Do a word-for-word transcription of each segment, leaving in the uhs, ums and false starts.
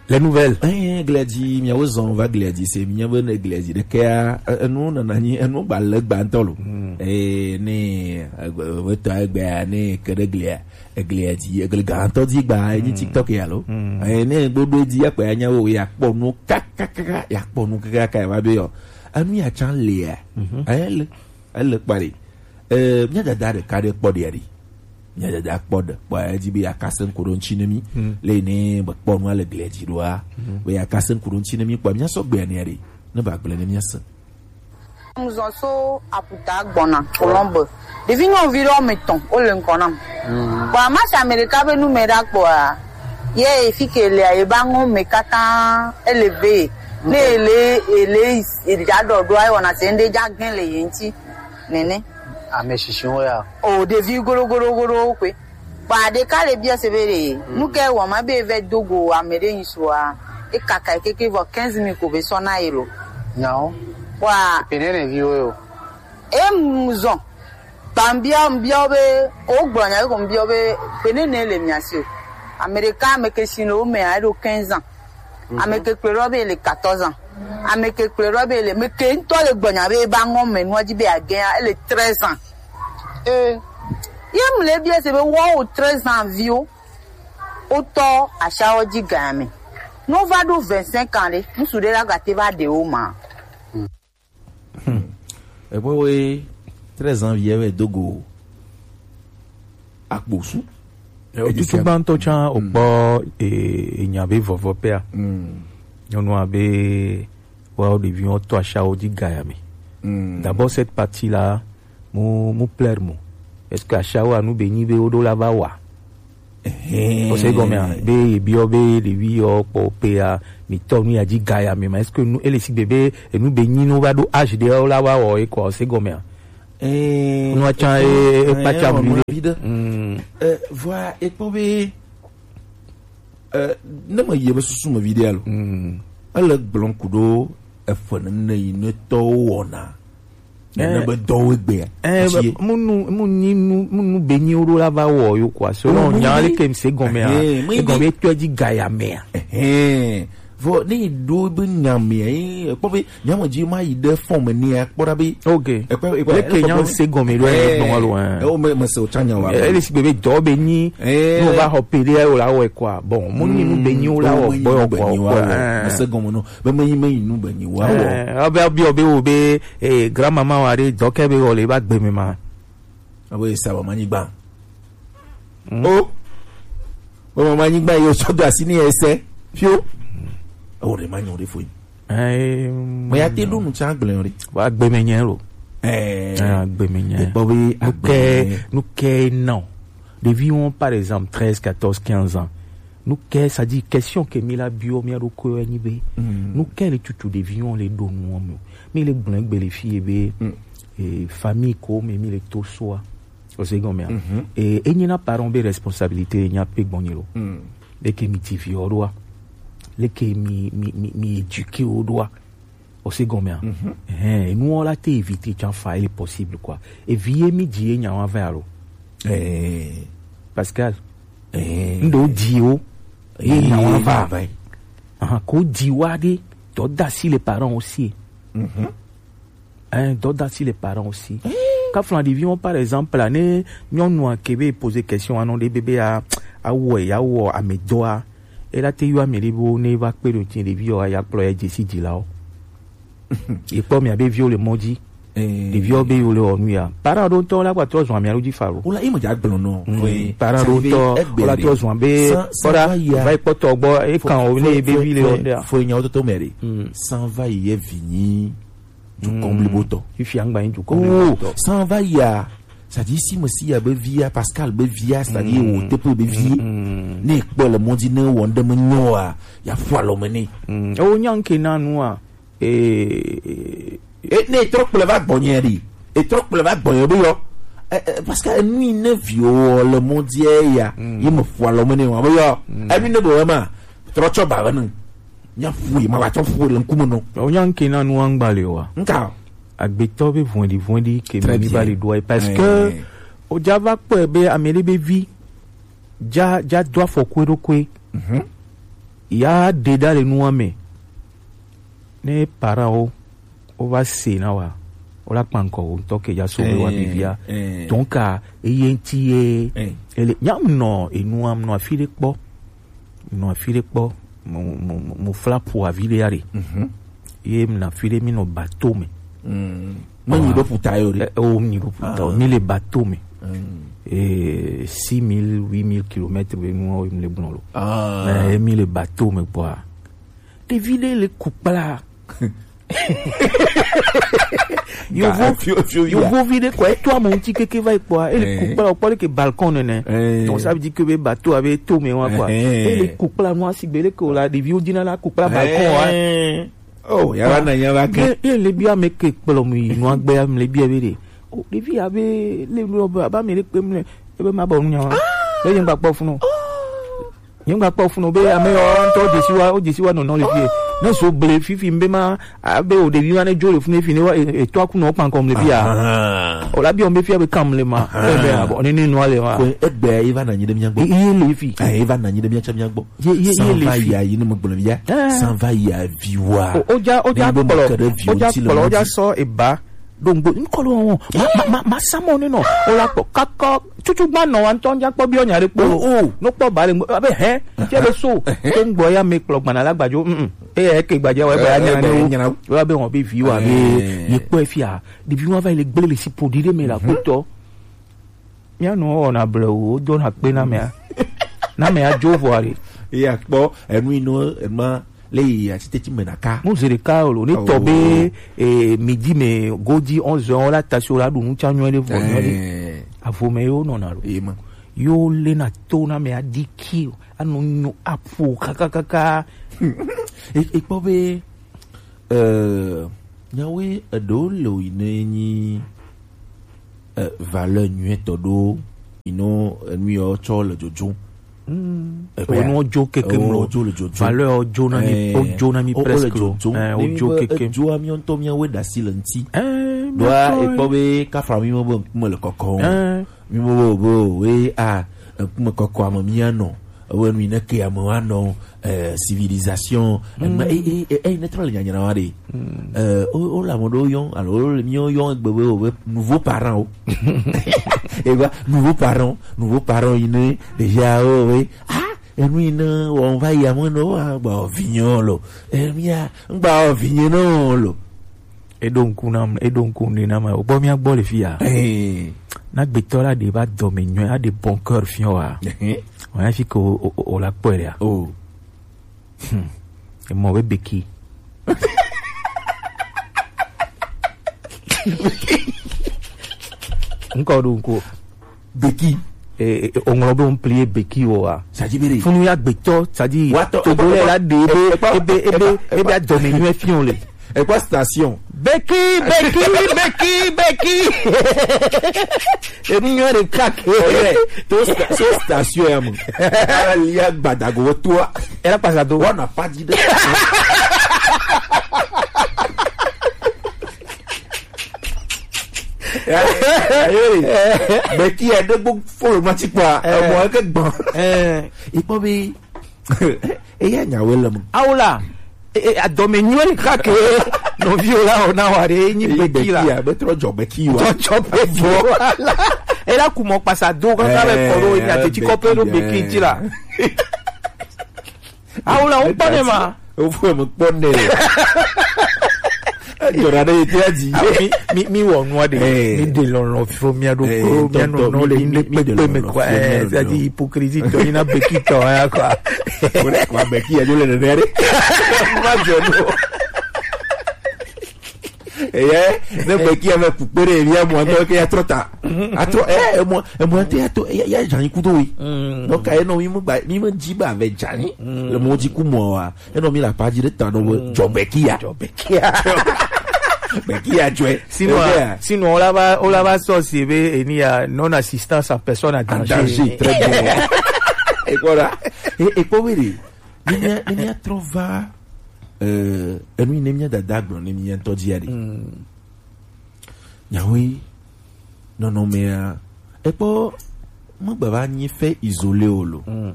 Les nouvelles. Eh, Gladi, miawo zɔn va Gladi se, minya be ne Gladi ɖekea, e- enu nana nyi, enu gba le gba ŋutɔ lo. Eh, ne, e- e- etɔ egbea, ne ke ɖe glia, eglia dzi, egle gã ŋutɔ dzi gba, enyi TikTok ya lo. Eh, ne gbodo dzi, akpa ya nya wo, ya kpɔ nu, kakakaka, ya kpɔ nu, kakaka, ya va be yɔ. Enu ya tsa lia. Eh, le, ele kpa ɖe. Eh, mía dada ɖeka ɖe kpɔ ɖe ɖi. Mía dada kpɔ ɖe. Kpɔ edzi be yeakase ŋku ɖo ŋuti ne mí. Le ne be kpɔ nua le glia dzi ɖoa. Be yeakase ŋku ɖo ŋuti ne mí kpɔ mía sɔ gbea ne ɖi. Ne ba gblẽ ne mía se. Ŋzɔn so aputa gbɔna Colombe. Ɖevi nyɔnuvi ɖewo me tɔn wo le ŋkɔ nam. Bon, ama si ame ɖeka be nu me ɖa kpɔa, ye efi ke lea, ye ba ŋɔ me katã ele ve. Ne ele ele eja ɖɔ ɖoa, ewɔna se ŋɖe ja gɛn le ye ŋuti. Nene. Ame shishi wo ya. O ɖevi goɖo goɖo goɖo kpe. Ba ɖeka le bia se be ɖe, nu ke wɔ ma be vɛ do go ame ɖe ŋsu a, e kaka keke vɔ quinze mille ko be sɔ na ye lo. Nyawo. Wa. Pene ne vi wo yo. E mu zɔn. Ba mbia mbia wo be, ko gblɔ nya ko mbia wo be, pene ne le mia si o. Ame ɖeka ame ke si le wo me a, eɖo quinze ans. Ame ke kplɔe ɖo be le quatorze ans. Ame ke kplɔe ɖo be le, me ke ŋutɔ le gbɔnya be ba ŋɔ me nua dzi be agɛa, ele treize ans. Eh. Ye mu le bia se be wo o treize ans viwo. Wotɔ ashawo dzi gã me. No va ɖo vingt-cinq ans ɖe, ŋsu ɖe la gate va ɖe wo ma. Hmm. Ekpɔ be treize ans vie wɛ do go akposu. Eh, otutu gbãtɔ tsã, hmm, okpɔ, eh, enya be vɔvɔ pɛa. Hmm. Nyɔnua be, wa wo ɖeviwo tɔ ashawo dzi gaya me. Hmm. D'abord, cette partie-là, mu, mu plaire mo. Est-ce que ashawo anu be nyi be wo ɖo la va wa? Ehɛn. Ose gɔmea, be ebiɔ be ɖevi yɔ kpɔ pea, mi tɔ nu ya dzi gaya me ma. Est-ce que nu, ele sigbe be enu be nyi no va ɖo âge ɖe la va wɔ e kɔ, ose gɔmea? Eh, nu atsã, eh, e, e kpatsa eh, vi ɖe. Mm. Eh, vɔa, ekpɔ be, eh, ne me yie be susu me vi ɖe alo. Mm. Ele gblɔm ku ɖo eƒe nene yi ne tɔwo wɔna. Nene be dɔwo egbea. Eh, asi ye. Munu, munyi nu, munu be nyi wo ɖo la va wɔ yo kɔ. Selon nya le ke mi se gɔmea. Eh, e gɔme tɔ dzi gaya mea. Eh, vɔ ne ɖo be nya mea, eh, kpɔ be Nyɔnu dzi ma yi ɖe fɔn me nea, kpɔ ɖa be. Ok. Ekpe, ekpe, leke ekpe, nya ekpe, se gɔme ɖo, eh, gbɔn alo, eh. Eh, o me, me se o tsã nya wa. Eh, ele si be, be dɔ be nyi, eh, no va xɔ pe ɖe o la wɔ kɔa. Bon, mo nyi nu be nyi o la wɔ, o me nyi nu be nyi wa wɔ. Eh. Me se gɔme no. Be me nyi, me nyi nu be nyi wa wɔ. Eh, o be, o be, o be wo be, eh, grand-maman wa ɖe dɔ ke be wɔ le ba gbe me ma. Abo ye sa ba ma nyi gba. Mm. O. Wo mama nyigba yi o sɔ do asi ni ese. Fio. O ɖe ma nyɔ ɖe foyi. Eh, me ya te ɖo nu tsa gblẽ ɖe. Wa gbe me nye lo. Eh. Ah, gbe me nye. Ekpɔ be nu ke, agbe nu ke nɔ. Ɖeviwo, par exemple, treize, quatorze, quinze ans. Nu ke, c'est-à-dire, question ke mi la bio, mi aɖo ko nyi be. Mm. Nu ke le tutu ɖeviwo le ɖo nu me. Mi le gblẽ gbe le fi ye be, mm, eh, famille ko me mi le to soa. Ose gɔmea. Mhm. E, enyi na parent be responsabilité nya pe gbɔnyi lo. Mm. Leke mi ti vi o ɖoa. Leke mi, mi, mi, mi éduquer o ɖoa. Ose gɔmea. Mhm. Eh, enu o la te éviter tsa fa, il est possible quoi. E vi ye mi di ye nya wa va alo. Eh. Pascal. Eh. Ndo di o. Ye nya wa va. Aha, ko di wa de. To da si les parents aussi. Mhm. Hein, dɔ da si les parents aussi. Kafla ɖeviwo, par exemple, la, ne nyɔnua ke be poser question anɔ ɖe bebe a, awɔ, ya wɔ amedɔa. E la te yɔ ame ɖe bo ne va kpe ɖo ti ɖevi yɔ ya kplɔ ya dze si dzilawo. Ye kpɔ mia be viwo le mɔ dzi. Eh. Ɖeviwo be yo le wɔ nu ya. Para ɖo ŋutɔ la gba trɔ zɔn amia ɖo dzi fa lo. Wala ime dza gblɔ nɔ. Mm. Para ɖo ŋutɔ wala trɔ zɔn be kpɔɖa va yi kpɔtɔ gbɔ e kan o ne be vi le wɔ ɖea. Fo nyawo toto mɛ ɖe. Mm. San va yi ye vi nyi. Dukɔn blibo tɔ. Fifi angba yin dukɔn blibo tɔ. San va ya, c'est-à-dire si Mesiya be via, Pascal be via, c'est-à-dire wo teƒe be vie. Ne kpɔ le mɔdzi ne wɔ ŋɖe me nyɔ a, ya ƒu alɔ me nɛ. Ewo nya ŋke na nua. E ne trɔ kplɔe va gbɔnye ɖi. E trɔ kplɔe va gbɔnye be yɔ. Parce que enu yi ne viwo le mɔdzi ya, yi me ƒu alɔ me nɛ wa be yɔ. Enu ne be wema, trɔ tsɔ ba wenu. Nya ƒu yi ma va tsɔ ƒu le ŋkume nɔ. O nya ŋke na nu angba le wa. Nka. Agbetɔ be vɔ̃ɖi vɔ̃ɖi ke mi va le ɖoa parce que o ja va kpɔe be ame ɖe be vi ja ja do afɔku eɖokui. Ya ɖe ɖa le nua me. Ne parent wo, wo va se na wa, wo la kpa ŋkɔ wo ŋutɔ ke ya so be wa ɖevia. Donc, a, eye ŋuti ye, ele, nya mu nɔ enua, mu nɔ afi ɖe kpɔ. Mu nɔ afi ɖe kpɔ. Mu, mu, mu, mu fla ƒo avi ɖe ya ɖe. Ye mu nɔ afi ɖe, mi nɔ bateau me. Menyi ɖo ƒuta yo ɖe. Eh, o, mi ɖo ƒuta o. Mi le bateau me. Eh, six mille, huit mille kilomètres be nua wo mi le gblɔ lo. Eh, mi le bateau me kpɔa. Ɖevi ɖe le ku kpla. Yovo, yovovi ɖe kɔ, eto ame ŋuti keke va yi kpɔa, ele ku kpla, wòkpɔ ɖe ke balcon nene. Donc, ça veut dire que be bateau abe to me wa kpɔa. Ele ku kpla nua sigbe ɖe ke wòla, ɖeviwo dina la ku kpla balcon wa. Oh, ya va na, ya va ke. Ye, ye le bia me ke kplɔ mu yi nua gbe ya, me le bia be ɖe. Oh, ɖevi abe le nu be, aba me le kpe mu le, ebe ma bɔ nu nya wa. Be ye ŋgba kpɔ funu. Nye ŋgba kpɔ funu be ame yawo ŋutɔ dzesi wa, wo dzesi wa nɔnɔ le fie. Ne zo ble fifi be ma, abe o ɖevi wa ne dzo le funu fi ne wa, e, etɔ aku nɔ kpankɔm le fia. O la bi o be fia be kam le ma. E be abo ne ne nua le ma. Ko egbe ye va na nyi ɖe mía gbɔ. Ye, ye le fi. Eh, ye va na nyi ɖe mía tsɛ mía gbɔ. Ye, ye, ye le fi. San va ya yi ne me gblɔ via. San va ya vi wa. O, o ja, o ja kplɔ, o ja kplɔ, o ja sɔ eba. Ɖo ŋgbo, ŋkɔ ɖo wɔn. Ma, ma, ma, ma sa mɔ ne nɔ. O la kpɔ, kakɔ, tutu gba nɔ wa ŋutɔ ŋdza kpɔ biɔ nya ɖe kpɔ. O, o. No kpɔ ba le ŋgbo, abe hɛ, tse be so. To ŋgbɔ ya me kplɔ gbana la gbadzo, mm, mm. Eya ke gbadza wa, ba ya nya ne wo. Wa be wɔn be vi wa be, ye kpɔ efia. Ɖevi wa va yi le gble le si ƒoɖi ɖe me la kpɔtɔ. Mía nɔ wɔna blewu, wodona kpe na mea. Na mea dzo vɔa ɖe. Eya kpɔ, enu yi nɔ, enu ma, le yi atiteti me na ka. Mu zi ɖeka o lo, ne tɔ be, eh, midi me, godzi onze heures, la tasi o la ɖu nu tsa nyuie ɖe vɔ nyuie ɖe. Eh. Avo me yo nɔna lo. Ye ma. Yo le na to na mea di ki o, anu nyu apu kakakaka. E, e kpɔ be, eh, nyawoe eɖewo le o yi ne nyi, eh, valeur nyuietɔ ɖo yi no enu yɔ tsɔ le dzodzo. Mm. Eƒe ya. Enu dzo keke mlɔ. Dzo le dzodzo. Valeur dzo na mi, eh, o dzo na mi o, o le presque. Dzodzo. Eh, o dzo keke. Edzo ami ŋutɔ mía we ɖasi le ŋuti. Eh, ɖoa ekpɔ be kafa mi mo be ŋkume le kɔkɔ. Eh. Mi mo be o be o we a ŋkume kɔkɔ ame mía nɔ. Ewe nu yi ne ke ame wa nɔ, eh, civilisation, eh, ma, eh, eh, eh, eh, ne trɔ le nyanyra wa ɖe. Eh, o, o la mo ɖo yɔn, alo o le mio yɔn egbe be o be nouveau parent o. E va nouveau parent, nouveau parent yi ne déjà o we. Ah, enu yi ne on va y amener o, ah, ba o vinyo lo. Eh, mia, ba o vinyo no lo. Eɖo ŋku nam, eɖo ŋku ŋɖe nam. Wogbɔ mía gbɔ le fi ya. Eh. Na gbetɔ la ɖe va dɔme nyuie, aɖe bon cœur fiɔ wa. Eh. Wònya fi ke o, o, o, o la kpɔe ɖea. Oh. Hmm. Emɔ be beki. Ŋkɔ ɖo ŋku. Beki. E, e, e, oŋlɔ be ŋpli ye beki wɔ wa. Sadzi be ɖe. Funu ya gbetɔ, sadzi. Wa tɔ, Togo lɛ la ɖe ebe, ebe, ebe, ebe adɔme nyuie fiɔ le. Ekpɔ station. Beki, beki, beki, beki. Enu nyuie ɖeka ke. Oye, to sta-, so station ya mo. Ala lia gbadago toa. Era pasa do. Wana padi de. Ya, ya, ya. Beki ya de gbɔ fo ma ti kpa. Eh. Mo ke gbɔn. Eh. Ikpɔ be. Eya nyawo le mo. Awo la, e, e, adɔme nyuie ɖeka ke nɔviwo la wɔ na wa ɖe, enyi beki la. Beki ya, be trɔ dzɔ beki wa. Dzɔ, dzɔ beki wa. Ela ku mɔ kpasa do kaka be kɔ ɖo, eh, nya teti kɔpe ɖo beki dzi la. Awo la, wo kpɔ ne ma. Wo fo me kpɔ ne. Edzɔna ɖe ye tia dzi. Ah, mi, mi, mi wɔ nua ɖe. Eh. Mi ɖe lɔlɔ fo mia ɖo. Eh, kro, mia tɔntɔ, nɔ, nɔ le mi, mi, mi ɖe kpekpe me lɔlɔ kɔ, fo mia eh, ɖo. C'est-à-dire hypocrisie tɔ, ina beki tɔ, ya kɔ. Wole kɔ beki ya, jo le nene ɖe. Ma jɔ no. Eye, ne beki ya me kpukpe ɖe, ya mo ŋutɔ ke ya trɔ ta. Atrɔ, eh, mo, mo ŋutɔ ya to, ya, ya dza nyi kudo wi. Mm. Donc, ayi nɔ mi mo ba, mi mo dzi ba ve dza nyi. Mm. Le mo dzi ku mo wa. Enɔ mi la pa dzi ɖe ta nɔ be, mm, dzɔ bekia. Dzɔ bekia. Bekia dzɔe. Sinon, eh, sinon, on la va, on la va sortir be, enia, non-assistance en personne en danger. En danger, très bien. Et voilà. Et, et pour dire, ne mia, ne mia trɔ va, euh, enu ne mia dada gblɔ, ne mia ŋutɔ dzia ɖe. Mm. Nyawoe, nɔnɔmea, ekpɔ, megbava nyi fait isolé o lo. Mm.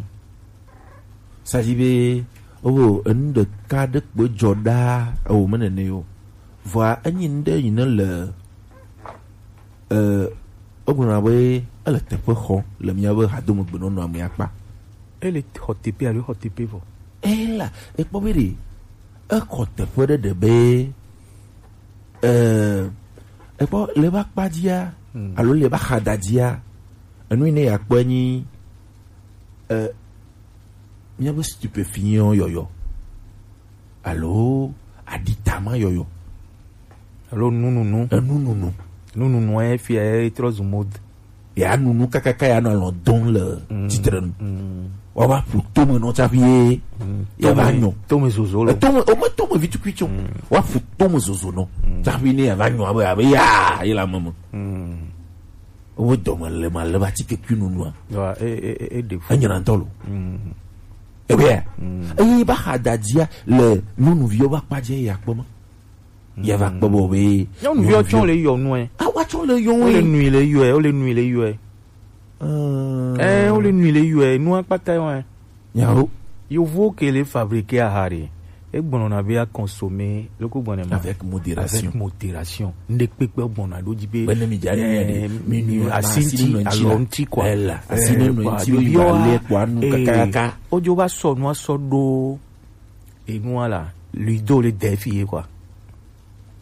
Ça dit be, Oh, enu ɖeka ɖe kpoe dzɔ ɖaa, ewò me nene yo. Vɔa enyi nu ɖe yi ne le, eh, egblɔna be ele teƒe xɔ le míabe hadomegbenɔnɔa me akpa. Ele xɔ teƒe alo xɔ teƒe vɔ? Ela, ekpɔ be ɖe, exɔ teƒe ɖe ɖe be, eh, ekpɔ le eƒe akpa dzia, hmm, alo le eƒe axadadzia, enu yi ne yeakpɔe nyi, eh, míabe stupéfiant yɔyɔ alo aɖitama yɔyɔ alo nununu. Enununu. Nununu efia etrɔ zu mode. Ya nunu kakaka ya nɔ alɔ dɔn le, mm, titre nu. Mm. Wa va ƒu tome nɔ tsaƒi ye, mm, ya va nyɔ. Tome zozo lo. Tome, o me tome vitukui tso. Mm. Wa ƒu tome zozo nɔ, mm, tsaƒi ne ya va nyɔ abe, abe ya, ye la meme. Mm. Wo dɔme le ma le va tike kui nunua. Wa, e, e, e, e ɖe fu. Enyina ŋutɔ lo. Mm. Ebe ya. Mm. Eye ba xa da dzia le nyɔnuviwo va kpa dze ya kpɔ ma. Ya va kpɔ bo be nyɔnuviwo tsɔ le yɔ nu ɛ. A wa tsɔ le yɔ. Wo le nui le yɔ ɛ, wo le nui le yɔ ɛ. Ɛ, wo le nui le yɔ ɛ, nu akpata yɔ ɛ. Nyawo. Yovo ke le fabriquer aha ɖe. Egblɔna be a consommer loko gbɔnɛ ma. Avec modération. Avec modération. Ŋɖe kpekpe gbɔna ɖo dzi be. Bene mi dza ne mi ɖe. Mi nu asi ŋti, alɔ ŋti quoi. Ela, asi ne nu ŋti mi ba le kpɔ anu kakaka. Ojo va sɔ nu asɔ ɖo. Enua la, lui do le defi ye quoi.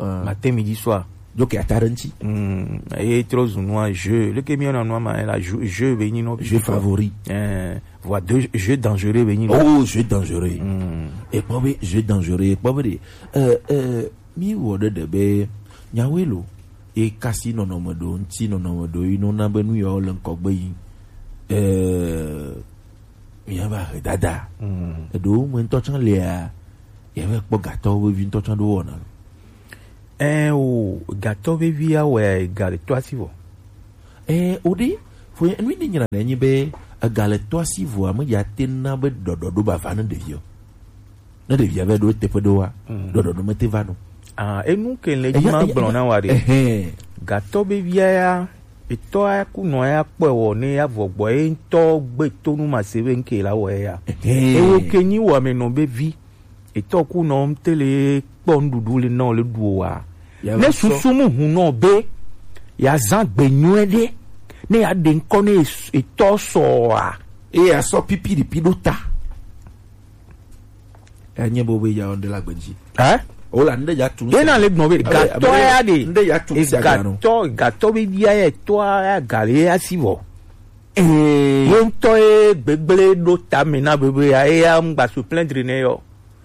Euh, matin, midi, soir. Donc, il y a Taranti. Hmm, et trop nua jeu. Le que mi na nua ma la jeu, jeu veni no. Jeu favori. Euh, voilà deux jeux dangereux veni no. Oh, jeu dangereux. Hmm. Et pas vrai, jeu dangereux. Pas vrai. Euh, euh, mi wo de de be. Nyawe lo. E kasi nɔnɔme ɖo ŋti nɔnɔme ɖo yi no na be nu yawo le ŋkɔ gbe yi. Euh, Míava he dada. Mm. Eɖewo me ŋutɔ tsã lia, yɛvɛ kpɔ gatɔ vevi ŋutɔ tsã ɖo wɔna lo. Ɛ o, gatɔ vevi awɛ ga le to asi vɔ. Ɛ o ɖe, fo nu ne nyina ne nyi be ega le to asi vɔ ame ya te na be ɖɔɖɔ ɖo ba va ne ɖevi o. Ne ɖevia va ɖo teƒe ɖoa, mm, ɖɔɖɔɖo mete va nɔ. Ah, enu ke le dzi ma gblɔ na wa ɖe. Ehɛn. Gatɔ be via ya, etɔ ya ku nɔ ya kpɔe wɔ ne ya vɔ gbɔ ye ŋutɔ gbe to nu ma se be ŋke la wɔ ya. Ehɛn. Ewo ke nyi wɔ ame nɔ be vi. Etɔ ku nɔ ŋte le kpɔ nuɖuɖu le nɔ le ɖu o wa. Ya ne va sɔ. Susu mu hun nɔ be ya zã gbe nyuie ɖe ne ya ɖe ŋkɔ ne etɔ sɔ wa. Eye asɔ pipi ɖipi ɖo ta. Enye bo be ya ɔnde la gbedzi. Ɛ? O la nde ya tu. Ye na le gbɔn be gatɔ ya de. Nde ya tu. E gatɔ, gatɔ be bia ye tɔ ya gale ya si vɔ. Ee. Ye ŋutɔ ye gbegble ɖo ta me na bebe ya, ye ya ŋgba se plaindre ne yɔ.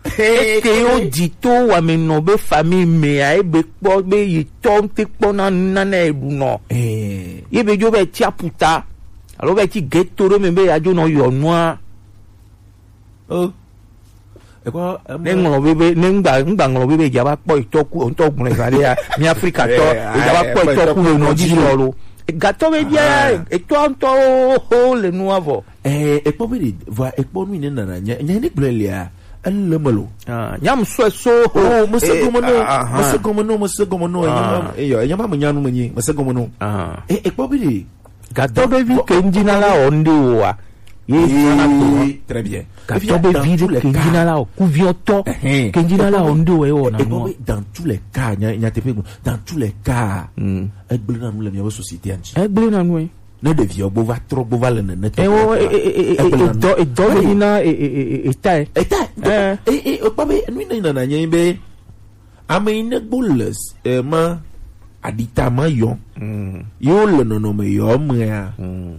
Eke yo di to wame nɔ be famille me ya, e be kpɔ be yi tɔ ŋte kpɔ na nane e ɖu nɔ. Ee. Ye be dzo be tsi aputa. Alo be tsi ghetto ɖo me be ya dzo nɔ yɔ nua. Oh. Ekɔ, ne ŋlɔ be be, ne ŋgba, ŋgba ŋlɔ be be dza va kpɔ etɔ ku, ŋutɔ gblɔ eva ɖe ya, mi Afrika tɔ, eh, edza va kpɔ etɔ ku le nɔ dzi sɔ lo. Gatɔ be bia, ah, etɔ ŋutɔ ho le nua vɔ. Eh, ekpɔ be ɖe, vɔ ekpɔ nu yi ne nana nya, nya ne gblɔ lia, ele me lo. Ah, nyam sɔ so ho. Oh, mese gɔme no, ah, ah, mese gɔme no, mese gɔme no, ah, enyama, eyo, enyama me nyanu me nyi, mese gɔme no. Ah. Eh, ekpɔ be ɖe, Gatɔ be vi ke ŋdzi na la wɔ ŋɖe o wa. Ye zana to wa. Très bien. Gatɔ be vi ɖe ke ŋdzi na la wɔ kuviɔtɔ. Ɛhɛn. Ke ŋdzi na la wɔ ŋɖe o ye wɔ na nua. Dans tous les cas, nya, nyateƒe gblɔ, dans tous les cas, mm, egblẽ na nu le miabe société ŋuti. Egblẽ na nu, eh. Ne ɖeviwo gbo va trɔ, gbo va le nene tɔ. Eh, wo, eh, eh, eh, eh, egblẽ na nu. Edɔ, edɔ le nyi na, eh, eh, eh, eh, eta, eh. Eta, eh, eh, eh, ekpɔ be, nu yi ne nana nye be, ame yi ne gbo le, eh, ma, aɖita ma yɔ. Mm. Ye wo le nɔnɔme yɔ mea, mm,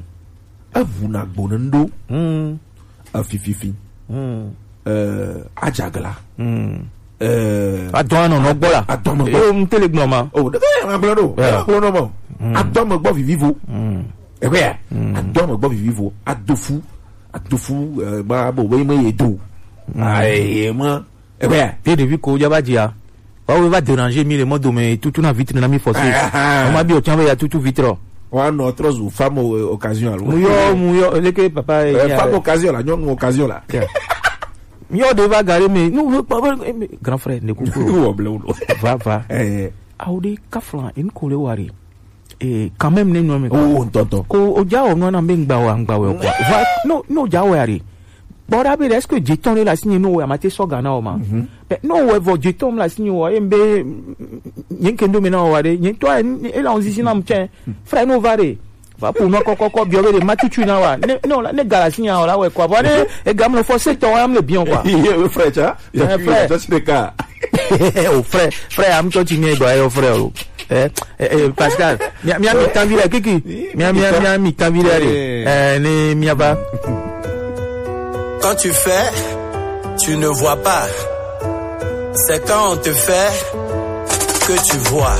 eʋu na gbo ne ŋɖo. Mm. Efififi. Mm. Eh, adzagla. Mm. Eh, adɔ anɔ nɔ gbɔ la. Adɔ me gbɔ. Yo, ŋtele gblɔ ma. Oh, ɖe be ma gblɔ ɖo. Yeah. Ma gblɔ nɔ ma. Mm. Adɔ me gbɔ vivivo. Mm. Eʋe ya. Mm. Adɔ me gbɔ vivivo. Adofu. Adofu, eh, ma bo be me ye do. Mm. Aye ma. Eʋea? Ye ɖevi ko dza va dzia. Wawo va déranger mi le mɔ dome tutu na vitre na mi forcer. Ah, ah. Mama bi o tian be ya tutu vitre. Wa nɔ trɔ zu femme o-, occasion alo. Mu yɔ, mu yɔ, leke papa ye. Eh, femme occasion la, nyɔnu occasion la. Tiens. Mi yɔ de va gare me. Nu, eh, eh, grand frère, ne kuku. Wo ble wo. Va, va. Eh. Awo de kaflan, en ko le wari. Eh, quand même, ne nyɔ me. Oh, ntɔntɔ. Ko o dza o nɔ na be ŋgba wa, ŋgba wa, quoi. Va, no, no, dza wa re. Kpɔ ɖa be ɖe, est-ce que dzetɔ ɖe le asinye no wɔ amate sɔ ga na wɔ ma? Be no wɔ vɔ dzetɔ le asinye wɔ, em be nye ke ndo me na wɔ ɖe, nye tɔ e la on zizi na mu tsɛ. Frère no va ɖe. Va ƒo nua kɔkɔkɔ biɔ be ɖe ma tutu na wa. Ne ne wòla- ne ga le asinye wɔ la wɔ kɔ. Vɔ ne ega me fɔ se tɔ wa me le biɔ kɔ. Ye frère tsa. Ya Eh, frère. Tsa si ɖeka. O frère, frère, am tsɔ tsi mi gba yo frère o. Eh, eh, eh, Pascal, mi mi mi tan vi la kiki. Mi mi mi mi tan vi la. Eh, ne mi va. Quand tu fais, tu ne vois pas. C'est quand on te fait que tu vois.